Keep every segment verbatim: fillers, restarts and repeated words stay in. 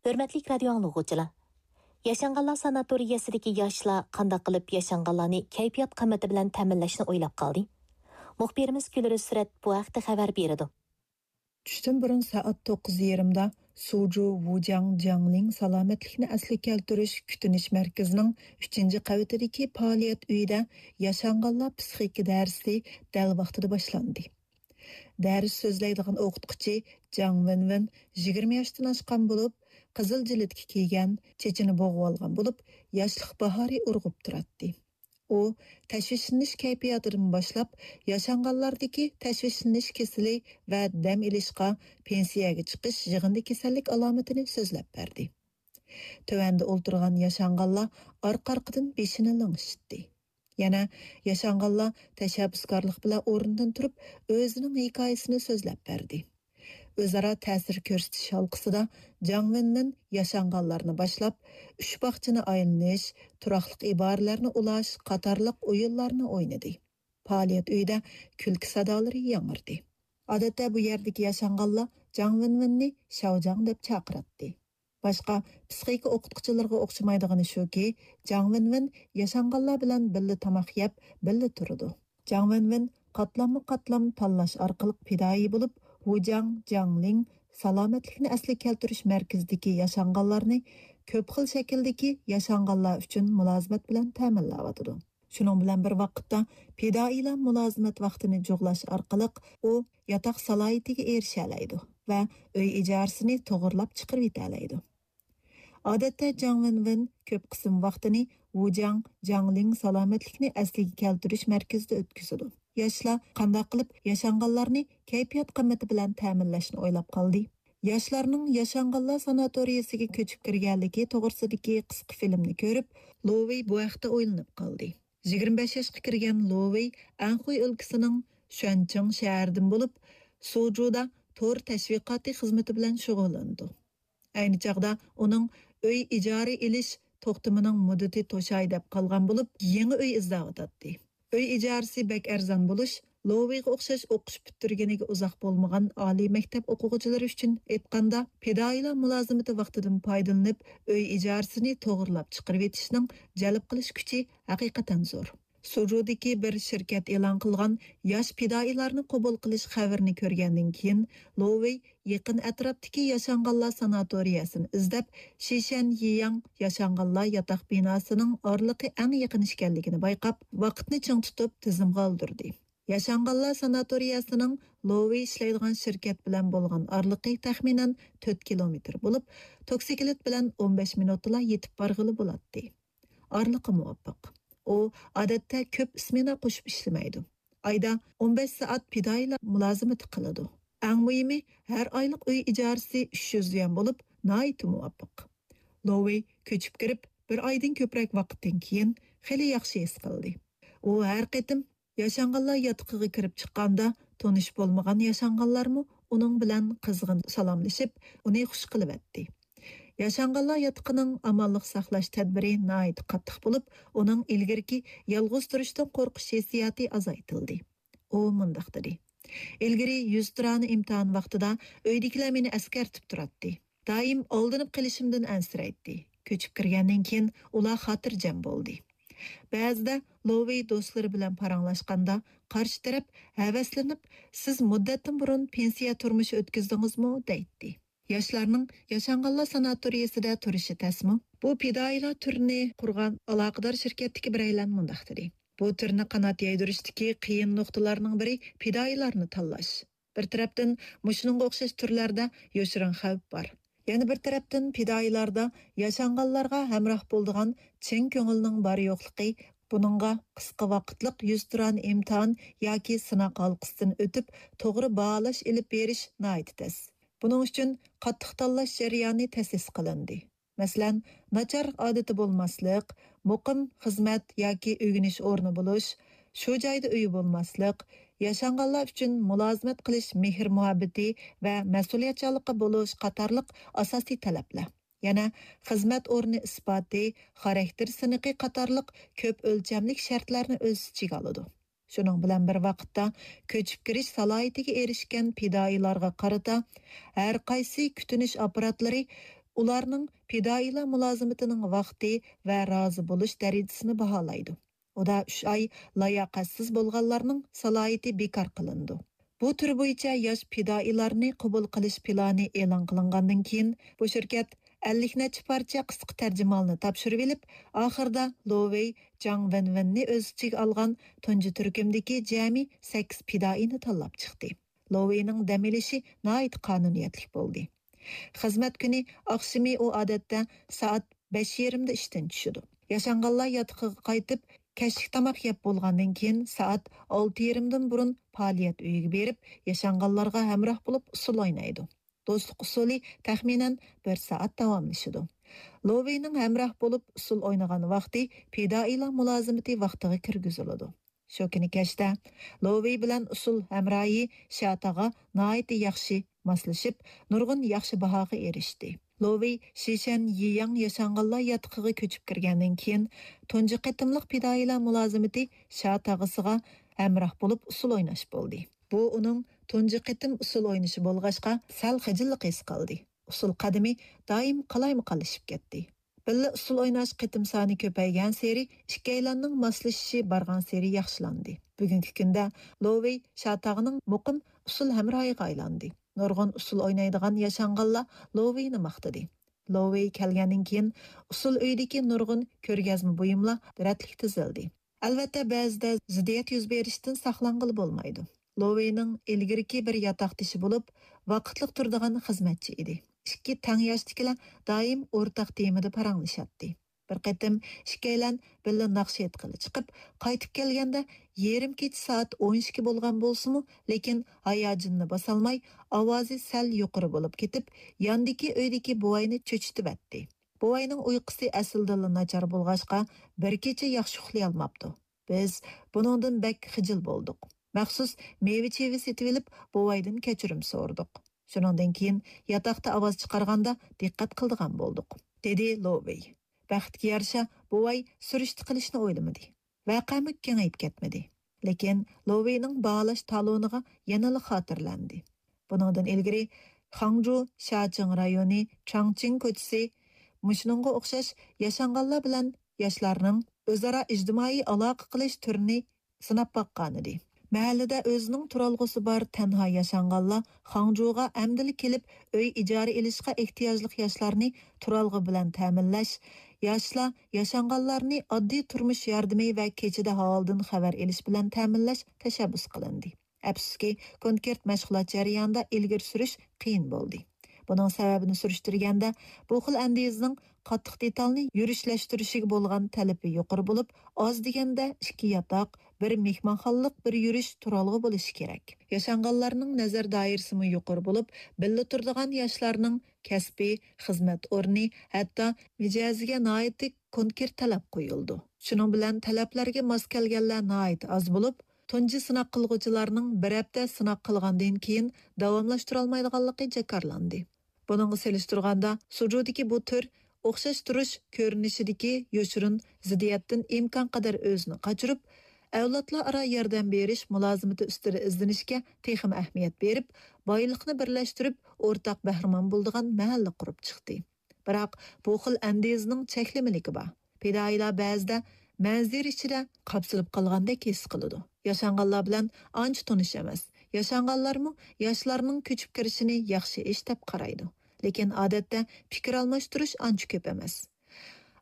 ھۆرمەتلىك رادىيو ئاڭلىغۇچىلار! ياشانغانلار ساناتورىيەسىدىكى ياشلار قانداق قىلىپ ياشانغانلارنى كەيپىيات قىممىتى بىلەن تەمىنلەشنى ئويلاپ قالدى؟ مۇخبىرىمىز گۈلرىز سۈرەت بۇ ھەقتە خەۋەر بېرىدۇ. چۈشتىن بۇرۇن سائەت توققۇز يېرىمدا سۇجۇ ۋۇجياڭ جياڭلىڭ سالامەتلىكنى ئەسلىگە كەلتۈرۈش كۈتۈنۈش مەركىزىنىڭ ئۈچىنچى قەۋىتىدىكى پائالىيەت ئۆيىدە ياشانغانلار پسىخىكا دەرسى دەل ۋاقتىدا باشلاندى. دەرس سۆزلەيدىغان ئوقۇتقۇچى جاڭ ۋېنۋېن يىگىرمە ياشتىن ئاشقان بولۇپ، قىزىل جىلىتكە كىيگەن، چېچىنى بوغۇۋالغان بولۇپ، ياشلىق باھارى ئۇرغۇپ تۇراتتى. ئۇ تەشۋىشلىنىش كەيپىياتىدىن باشلاپ، ياشانغانلاردىكى تەشۋىشلىنىش كېسىلى ۋە دەم ئېلىشقا، پېنسىيەگە چىقىش يىغىندى كېسەللىك ئالامىتىنى سۆزلەپ بەردى. تۆۋەندە ئولتۇرغان ياشانغانلار ئارقا-ئارقىدىن بېشىنى لىڭشىتتى. يەنە ياشانغانلار تەشەببۇسكارلىق بىلەن ئورنىدىن تۇرۇپ، ئۆزىنىڭ ھېكايىسىنى سۆزلەپ بەردى. ئۆزئارا تەسىر كۆرسىتىش ھالقىسىدا جاڭ ۋېنمىن ياشانغانلارنى باشلاپ، ئۈچ باغچىنى ئايلىنىش، تۇراقلىق ئىبارىلەرنى ئۇلاش قاتارلىق ئويۇنلارنى ئوينىدى. پائالىيەت ئۆيىدە كۈلكە سادالىرى ياڭرىدى. ئادەتتە بۇ يەردىكى ياشانغانلار جاڭ ۋېنۋېننى شاۋجاڭ دەپ چاقىراتتى. باشقا پسىخىكا ئوقۇتقۇچىلىرىغا ئوخشىمايدىغىنى شۇكى، جاڭ ۋېنۋېن ياشانغانلار بىلەن بىللە تاماق يەپ، بىللە تۇرىدۇ. جاڭ ۋېنۋېن قاتلاممۇ قاتلام تاللاش ئارقىلىق پىدائىي بولۇپ، ۋۇجياڭ جياڭلىڭ سالامەتلىكنى ئەسلىگە كەلتۈرۈش مەركىزىدىكى ياشانغانلارنى كۆپ خىل شەكىلدىكى ياشانغانلار ئۈچۈن مۇلازىمەت بىلەن تەمىنلەۋاتىدۇ. شۇنىڭ بىلەن بىر ۋاقىتتا، پىدائىيلار مۇلازىمەت ۋاقتىنى جۇغلاش ئارقىلىق ئۇ ياتاق سالاھىيىتىگە ئېرىشەلەيدۇ ۋە ئۆي ئىجارىسىنى توغرىلاپ چىقىرىۋېتەلەيدۇ. ئادەتتە جاڭ ۋېنۋېن كۆپ قىسىم ۋاقتىنى ۋۇجياڭ جياڭلىڭ سالامەتلىكنى ئەسلىگە كەلتۈرۈش مەركىزىدە ئۆتكۈزىدۇ. ياشلار قانداق قىلىپ ياشانغانلارنى كەيپىيات قىممىتى بىلەن تەمىنلەشنى ئويلاپ قالدى؟ ياشلارنىڭ ياشانغانلار ساناتورىيەسىگە كۆچۈپ كىرگەنلىكى توغرىسىدىكى قىسقا فىلىمنى كۆرۈپ، لوۋېي بۇ ھەقتە ئويلىنىپ قالدى. يىگىرمە بەش ياشقا كىرگەن لوۋېي ئەنخۇي ئۆلكىسىنىڭ شۈەنچىڭ شەھىرىدىن بولۇپ، سۇجۇدا تور تەشۋىقاتى خىزمىتى بىلەن شۇغۇللىنىدۇ. ئەينى چاغدا ئۇنىڭ ئۆي ئىجارە ئېلىش توختىمىنىڭ مۇددىتى توشاي دەپ قالغان بولۇپ، يېڭى ئۆي ئىزدەۋاتاتتى. ئۆي ئىجارىسى بەك ئەرزان بولۇش، لوۋېيغا ئوخشاش ئوقۇش پۈتتۈرگىنىگە ئۇزاق بولمىغان ئالىي مەكتەپ ئوقۇغۇچىلىرى ئۈچۈن ئېيتقاندا، پىدائىيلار مۇلازىمىتى ۋاقتىدىن پايدىلىنىپ، ئۆي ئىجارىسىنى توغرىلاپ چىقىرىۋېتىشنىڭ جەلپ قىلىش كۈچى ھەقىقەتەن زور. سۇجۇدىكى بىر شىركەت ئېلان قىلغان ياش پىدائىيلارنى قوبۇل قىلىش خەۋىرىنى كۆرگەندىن كېيىن، لوۋېي يېقىن ئەتراپتىكى ياشانغانلار ساناتورىيەسىنى ئىزدەپ، شىشەن يىياڭ ياشانغانلار ياتاق بىناسىنىڭ ئارىلىقى ئەڭ يېقىن ئىكەنلىكىنى بايقاپ، ۋاقىتنى چىڭ تۇتۇپ تىزىمغا ئالدۇردى. ياشانغانلار ساناتورىيەسىنىڭ لوۋېي ئىشلەيدىغان شىركەت بىلەن بولغان ئارىلىقى تەخمىنەن تۆت كىلومېتىر بولۇپ، توكسىكلىت بىلەن ئون بەش مىنۇتتىلا يېتىپ بارغىلى بولاتتى. ئارىلىقى مۇۋاپىق. ئۇ ئادەتتە كۆپ سمېنا قوشۇپ ئىشلىمەيدۇ. ئايدا ئون بەش سائەت پىدائىيلار مۇلازىمىتى قىلىدۇ. ئەڭ مۇھىمى، ھەر ئايلىق ئۈي ئىجارىسى ئۈچ يۈز يۈەن بولۇپ، ناھايىتى مۇۋاپىق. لوۋېي كۆچۈپ كىرىپ، بىر ئايدىن كۆپرەك ۋاقىتتىن كېيىن خېلى ياخشى ھېس قىلدى. ئۇ ھەر قېتىم ياشانغانلار ياتىقىغا كىرىپ چىققاندا، تونۇش بولمىغان ياشانغانلارمۇ ئۇنىڭ بىلەن قىزغىن سالاملىشىپ، ئۇنى خۇش قىلىۋەتتى. ياشانغانلار ياتىقىنىڭ ئامانلىق ساقلاش تەدبىرى ناھايىتى قاتتىق بولۇپ، ئۇنىڭ ئىلگىرىكى يالغۇز تۇرۇشتىن قورقۇش ھېسسىياتى ئازايتىلدى. ئۇ مۇنداق دېدى: «ئىلگىرى يۈزتۇرانە ئىمتىھان ۋاقتىدا ئۆيدىكىلەر مېنى ئەسكەرتىپ تۇراتتى. دائىم ئالدىنىپ قېلىشىمدىن ئەنسىرەيتتى. كۆچۈپ كىرگەندىن كېيىن ئۇلار خاتىرجەم بولدى.» بەزىدە لوۋېي دوستلىرى بىلەن پاراڭلاشقاندا، قارشى تەرەپ ھەۋەسلىنىپ، «سىز مۇددەتتىن بۇرۇن پېنسىيە تۇرمۇشى ئۆتكۈزدىڭىزمۇ؟» دەيتتى. ياشلارنىڭ ياشانغانلار ساناتورىيەسىدە تۇرۇشى تەسمۇ؟ بۇ پىدائىيلار تۈرىنى قۇرغان ئالاقىدار شىركەتتىكى بىرەيلەن مۇنداق دېدى: «بۇ تۈرنى قانات يايدۇرۇشتىكى قىيىن نۇقتىلارنىڭ بىرى پىدائىيلارنى تاللاش. بىر تەرەپتىن، مۇشۇنىڭغا ئوخشاش تۈرلەردە يوشۇرۇن خەۋپ بار. يەنە بىر تەرەپتىن، پىدائىيلاردا ياشانغانلارغا ھەمراھ بولىدىغان چىن كۆڭۈلنىڭ بار-يوقلۇقى، بۇنىڭغا قىسقا ۋاقىتلىق يۈزتۇرانە ئىمتىھان ياكى سىناق ھالقىسىدىن ئۆتۈپ، توغرا باھالاش ئېلىپ بېرىش ناھايىتى تەس. بۇنىڭ ئۈچۈن قاتتىق تاللاش جەريانى تەسىس قىلىندى. مەسىلەن، ناچار ئادىتى بولماسلىق، مۇقىم خىزمەت ياكى ئۆگىنىش ئورنى بولۇش، شۇ جايدا ئۆيى بولماسلىق، ياشانغانلار ئۈچۈن مۇلازىمەت قىلىش مېھىر-مۇھەببىتى ۋە مەسئۇلىيەتچانلىقى بولۇش قاتارلىق ئاساسىي تەلەپلەر. يەنە خىزمەت ئورنى ئىسپاتى، خاراكتېر سىنىقى قاتارلىق كۆپ ئۆلچەملىك شەرتلەرنى ئۆز ئىچىگە ئالىدۇ. شۇنىڭ بىلەن بىر ۋاقىتتا، كۆچۈپ كىرىش سالاھىيىتىگە ئېرىشكەن پىدائىيلارغا قارىتا ھەر قايسى كۈتۈنۈش ئاپپاراتلىرى ئۇلارنىڭ پىدائىيلار مۇلازىمىتىنىڭ ۋاقتى ۋە رازى بولۇش دەرىجىسىنى باھالايدۇ. ئۇدا ئۈچ ئاي لاياقەتسىز بولغانلارنىڭ سالاھىيىتى بىكار قىلىنىدۇ. بۇ تۈر بويىچە ياش پىدائىيلارنى قوبۇل قىلىش پىلانى ئېلان قىلىنغاندىن كېيىن، بۇ شىركەت ئەللىك نەچچە پارچە قىسقا تەرجىمىھالنى تاپشۇرۇۋېلىپ، ئاخىرىدا لو ۋېي، جاڭ ۋېنۋېننى ئۆز ئىچىگە ئالغان تۇنجى تۈركۈمدىكى جەمئىي سەككىز پىدائىينى تاللاپ چىقتى. لو ۋېينىڭ دەم ئېلىشى ناھايىتى قانۇنىيەتلىك بولدى. خىزمەت كۈنى ئاخشىمى ئۇ ئادەتتە سائەت بەش يېرىمدا ئىشتىن چۈشىدۇ. ياشانغانلار ياتىقىغا قايتىپ، كەچلىك تاماق يەپ بولغاندىن كېيىن، سائەت ئالتە يېرىمدىن بۇرۇن پائالىيەت ئۆيىگە بېرىپ، ياشانغانلارغا ھەمراھ بولۇپ ئۇسسۇل ئوينايدۇ. دوستلۇق ئۇسسۇلى تەخمىنەن بىر سائەت داۋاملىشىدۇ. لو ۋېينىڭ ھەمراھ بولۇپ ئۇسسۇل ئوينىغان ۋاقتى پىدائىيلار مۇلازىمىتى ۋاقتىغا كىرگۈزۈلىدۇ. شۇ كۈنى كەچتە لو ۋېي بىلەن ئۇسسۇل ھەمراھى شياتاغا ناھايىتى ياخشى ماسلىشىپ، نۇرغۇن ياخشى باھاغا ئېرىشتى. لو ۋېي شىشەن يىياڭ ياشانغانلار ياتىقىغا كۆچۈپ كىرگەندىن كېيىن، تۇنجى قېتىملىق پىدائىيلار مۇلازىمىتى شياتاغىسىغا ھەمراھ بولۇپ ئۇسسۇل ئويناش بولدى. بۇ ئۇنىڭ تۇنجى قېتىم ئۇسسۇل ئوينىشى بولغاچقا، سەل خىجىللىق ھېس قىلدى. ئۇسسۇل قەدىمى دائىم قالايمىقانلىشىپ كەتتى. بىللە ئۇسسۇل ئويناش قېتىم سانى كۆپەيگەنسېرى، ئىككىيلەننىڭ ماسلىشىشى بارغانسېرى ياخشىلاندى. بۈگۈنكى كۈندە لو ۋېي شياتاغنىڭ مۇقىم ئۇسسۇل ھەمراھىغا ئايلاندى. نۇرغۇن ئۇسسۇل ئوينايدىغان ياشانغانلار لو ۋېينى ماختىدى. لو ۋېي كەلگەندىن كېيىن، ئۇسسۇل ئۆيىدىكى نۇرغۇن كۆرگەزمە بۇيۇملار رەتلىك تىزىلدى. ئەلۋەتتە، بەزىدە زىددىيەت يۈز بېرىشتىن ساقلانغىلى بولمايدۇ. لو ۋېينىڭ ئىلگىرىكى بىر ياتاقدىشى بولۇپ، ۋاقىتلىق تۇرىدىغان خىزمەتچى ئىدى. ئىككى تەڭ ياشتىكىلەر دائىم ئورتاق تېمىدا پاراڭلىشاتتى. بىر قېتىم ئىككىيلەن بىللە ناخشا ئېيتقىلى چىقىپ، قايتىپ كەلگەندە يېرىم كېچە سائەت ئون ئىككى بولغان بولسىمۇ، لېكىن ھاياجىنىنى باسالماي، ئاۋازى سەل يۇقىرى بولۇپ كېتىپ، ياندىكى ئۆيدىكى بوۋاينى چۆچۈتۈۋەتتى. بوۋاينىڭ ئۇيقۇسى ئەسلىدىنلا ناچار بولغاچقا، بىر كېچە ياخشى ئۇخلىيالماپتۇ. بىز بۇنىڭدىن بەك خىجىل بولدۇق. مەخسۇس مېۋە-چېۋە سېتىۋېلىپ، بوۋايدىن كەچۈرۈم سورىدۇق. شۇنىڭدىن كېيىن ياتاقتا ئاۋاز چىقارغاندا دىققەت قىلىدىغان بولدۇق، دېدى لو ۋېي. بەختكە يارىشا، بوۋاي سۈرۈشتە قىلىشنى ئويلىمىدى. ۋەقەمۇ كېڭىيىپ كەتمىدى. لېكىن لو ۋېينىڭ باھالاش تالونىغا يەنىلا خاتىرىلەندى. بۇنىڭدىن ئىلگىرى خاڭجۇ شياچىڭ رايونى چاڭچىڭ كوچىسى مۇشۇنىڭغا ئوخشاش ياشانغانلار بىلەن ياشلارنىڭ ئۆزئارا ئىجتىمائىي ئالاقە قىلىش تۈرىنى سىناپ باققانىدى. مەھەللىدە ئۆزىنىڭ تۇرالغۇسى بار تەنھا ياشانغانلار خاڭجۇغا ئەمدىلا كېلىپ، ئۆي ئىجارە ئېلىشقا ئېھتىياجلىق ياشلارنى تۇرالغۇ بىلەن تەمىنلەش، ياشلار ياشانغانلارنى ئاددىي تۇرمۇش ياردىمى ۋە كېچىدە ھالىدىن خەۋەر ئېلىش بىلەن تەمىنلەش تەشەببۇس قىلىندى. ئەپسۇسكى، كونكرېت مەشغۇلات جەريانىدا ئىلگىرى سۈرۈش قىيىن بولدى. بۇنىڭ سەۋەبىنى سۈرۈشتۈرگەندە، بۇ خىل ئەندىزىنىڭ قاتتىق دېتالنى يۈرۈشلەشتۈرۈشىگە بولغان تەلىپى يۇقىرى بولۇپ، ئاز دېگەندە ئىككى ياتاق، بىر مېھمانخانىلىق، بىر يۈرۈش تۇرالغۇ بولۇشى كېرەك. ياشانغانلارنىڭ نەزەر دائىرىسىمۇ يۇقىرى بولۇپ، بىللە تۇرىدىغان ياشلارنىڭ كەسپى، خىزمەت ئورنى، ھەتتا مىجەزىگە ناھايىتى كونكرېت تەلەپ قويۇلىدۇ. شۇنىڭ بىلەن تەلەپلەرگە ماس كەلگەنلەر ناھايىتى ئاز بولۇپ، تۇنجى سىناق قىلغۇچىلارنىڭ بىر ھەپتە سىناق قىلغاندىن كېيىن داۋاملاشتۇرالمايدىغانلىقى جاكارلاندى. بۇنىڭغا سېلىشتۇرغاندا، سۇجۇدىكى بۇ تۈر ئوخشاش تۇرۇش كۆرۈنۈشىدىكى يوشۇرۇن زىددىيەتتىن ئىمكانقەدەر ئۆزىنى قاچۇرۇپ، ئەۋلادلار ئارا ياردەم بېرىش مۇلازىمىتى ئۈستىدە ئىزدىنىشكە تېخىمۇ ئەھمىيەت بېرىپ، بايلىقنى بىرلەشتۈرۈپ، ئورتاق بەھرىمەن بولىدىغان مەھەللە قۇرۇپ چىقتى. بىراق، بۇ خىل ئەندىزىنىڭ چەكلىمىلىكى بار. پىدائىيلار بەزىدە مەنزىرە ئىچىدە قاپسىلىپ قالغاندەك ھېس قىلىدۇ. ياشانغانلار بىلەن ئانچە تونۇش ئەمەس. ياشانغانلارمۇ ياشلارنىڭ كۆچۈپ كىرىشىنى ياخشى ئىش دەپ قارايدۇ. لېكىن ئادەتتە پىكىر ئالماشتۇرۇش ئانچە كۆپ ئەمەس.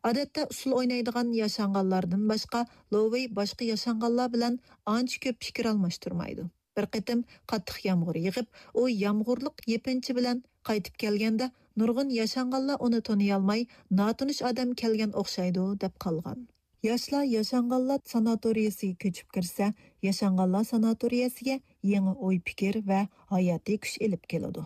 ئادەتتە ئۇسسۇل ئوينايدىغان ياشانغانلاردىن باشقا، لوۋېي باشقا ياشانغانلار بىلەن ئانچە كۆپ پىكىر ئالماشتۇرمايدۇ. بىر قېتىم قاتتىق يامغۇر يېغىپ، ئۇ يامغۇرلۇق يېپىنچا بىلەن قايتىپ كەلگەندە، نۇرغۇن ياشانغانلار ئۇنى تونۇيالماي، ناتونۇش ئادەم كەلگەن ئوخشايدۇ، دەپ قالغان. ياشلار ياشانغانلار ساناتورىيەسىگە كۆچۈپ كىرسە، ياشانغانلار ساناتورىيەسىگە يېڭى ئوي-پىكىر ۋە ھاياتىي كۈچ ئېلىپ كېلىدۇ.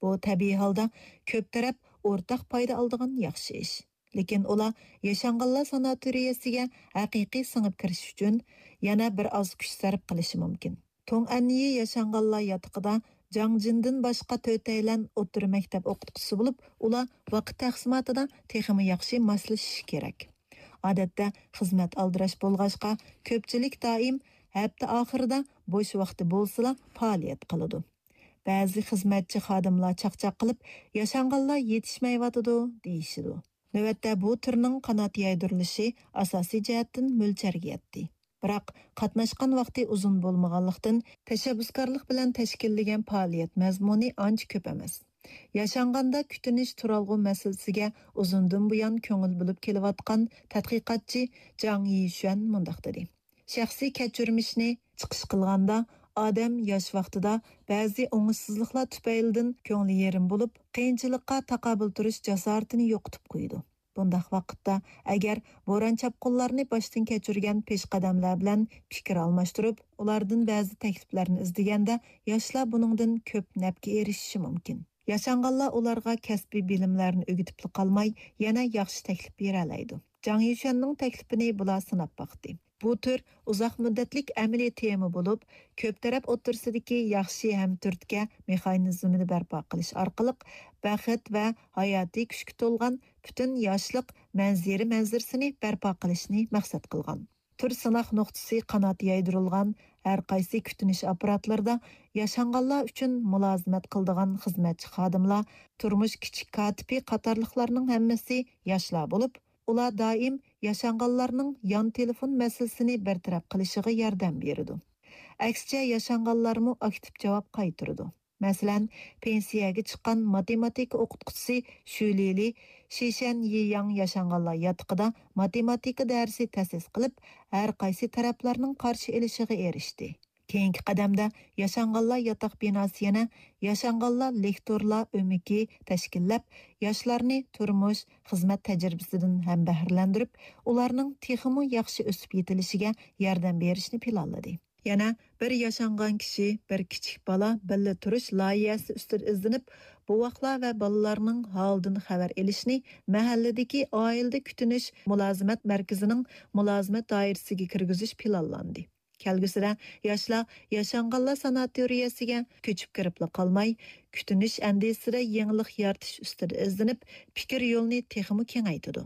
بۇ تەبىئىي ھالدا كۆپ تەرەپ ئورتاق پايدا ئالىدىغان ياخشى ئىش. لېكىن ئۇلار ياشانغانلار ساناتورىيەسىگە ھەقىقىي سىڭىپ كىرىش ئۈچۈن يەنە بىر ئاز كۈچ سەرپ قىلىشى مۇمكىن. توڭئەننىي ياشانغانلار ياتىقىدا جاڭ جىندىن باشقا تۆتەيلەن ئوتتۇرا مەكتەپ ئوقۇتقۇچىسى بولۇپ، ئۇلار ۋاقىت تەقسىماتىدا تېخىمۇ ياخشى ماسلىشىشى كېرەك. ئادەتتە خىزمەت ئالدىراش بولغاچقا، كۆپچىلىك دائىم ھەپتە ئاخىرىدا بوش ۋاقتى بولسىلا پائالىيەت قىلىدۇ. بەزى خىزمەتچى خادىملار چاقچاق قىلىپ، ياشانغانلار يېتىشمەيۋاتىدۇ، دېيىشىدۇ. نۆۋەتتە بۇ تۈرنىڭ قانات يايدۇرۇلۇشى ئاساسىي جەھەتتىن مۆلچەرگە يەتتى. بىراق، قاتناشقان ۋاقتى ئۇزۇن بولمىغانلىقتىن، تەشەببۇسكارلىق بىلەن تەشكىللىگەن پائالىيەت مەزمۇنى ئانچە كۆپ ئەمەس. ياشانغاندا كۈتۈنۈش تۇرالغۇ مەسىلىسىگە ئۇزۇندىن بۇيان كۆڭۈل بۆلۈپ كېلىۋاتقان تەتقىقاتچى جاڭ يىشۈەن مۇنداق دېدى: شەخسىي كەچۈرمىشنى چىقىش قىلغاندا، ئادەم ياش ۋاقتىدا بەزى ئوڭۇشسىزلىقلار تۈپەيلىدىن كۆڭلى يېرىم بولۇپ، قىيىنچىلىققا تاقابىل تۇرۇش جاسارىتىنى يوقىتىپ قويىدۇ. بۇنداق ۋاقىتتا، ئەگەر بوران-چاپقۇنلارنى باشتىن كەچۈرگەن پېشقەدەملەر بىلەن پىكىر ئالماشتۇرۇپ، ئۇلاردىن بەزى تەكلىپلەرنى ئىزدىگەندە، ياشلار بۇنىڭدىن كۆپ نەپكە ئېرىشىشى مۇمكىن. ياشانغانلار ئۇلارغا كەسپىي بىلىملەرنى ئۆگىتىپلا قالماي، يەنە ياخشى تەكلىپ بېرەلەيدۇ. جاڭ يۈشەننىڭ تەكلىپىنى بۇلار سىناپ باقتى. بۇ تۈر ئۇزاق مۇددەتلىك ئەمەلىي تېما بولۇپ، كۆپ تەرەپ ئوتتۇرىسىدىكى ياخشى ھەم تۈرتكە مېخانىزمىنى بەرپا قىلىش ئارقىلىق بەخت ۋە ھاياتىي كۈچكە تولغان پۈتۈن ياشلىق مەنزىرە مەنزىرىسىنى بەرپا قىلىشنى مەقسەت قىلغان. تۈر سىناق نۇقتىسى قانات يايدۇرۇلغان ھەر قايسى كۈتۈنۈش ئاپپاراتلىرىدا ياشانغانلار ئۈچۈن مۇلازىمەت قىلىدىغان خىزمەتچى خادىملار، تۇرمۇش كىچىك كاتىپى قاتارلىقلارنىڭ ھەممىسى ياشلار بولۇپ، ئۇلار دائىم ياشانغانلارنىڭ يان تېلېفون مەسىلىسىنى بىر تەرەپ قىلىشىغا ياردەم بېرىدۇ. ئەكسىچە، ياشانغانلارمۇ ئاكتىپ جاۋاب قايتۇرىدۇ. مەسىلەن، پېنسىيەگە چىققان ماتېماتىكا ئوقۇتقۇچىسى شۈ لىلى شىشەن يىياڭ ياشانغانلار ياتىقىدا ماتېماتىكا دەرسى تەسىس قىلىپ، ھەر قايسى تەرەپلەرنىڭ قارشى ئېلىشىغا ئېرىشتى. كېيىنكى قەدەمدە ياشانغانلار ياتاق بىناسى يەنە ياشانغانلار لېكتورلار ئۆمىكى تەشكىللەپ، ياشلارنى تۇرمۇش، خىزمەت تەجرىبىسىدىن ھەم بەھرىلەندۈرۈپ، ئۇلارنىڭ تېخىمۇ ياخشى ئۆسۈپ يېتىلىشىگە ياردەم بېرىشنى پىلانلىدى. يەنە بىر ياشانغان كىشى، بىر كىچىك بالا بىللە تۇرۇش لايىھەسى ئۈستىدە ئىزدىنىپ، بوۋاقلار ۋە بالىلارنىڭ ھالىدىن خەۋەر ئېلىشنى مەھەللىدىكى ئائىلىدە كۈتۈنۈش مۇلازىمەت مەركىزىنىڭ مۇلازىمەت دائىرىسىگە كىرگۈزۈش پىلانلاندى. كەلگۈسىدە ياشلار ياشانغانلار ساناتورىيەسىگە كۆچۈپ كىرىپلا قالماي، كۈتۈنۈش ئەندىزىسىدە يېڭىلىق يارىتىش ئۈستىدە ئىزدىنىپ، پىكىر يولىنى تېخىمۇ كېڭەيتىدۇ.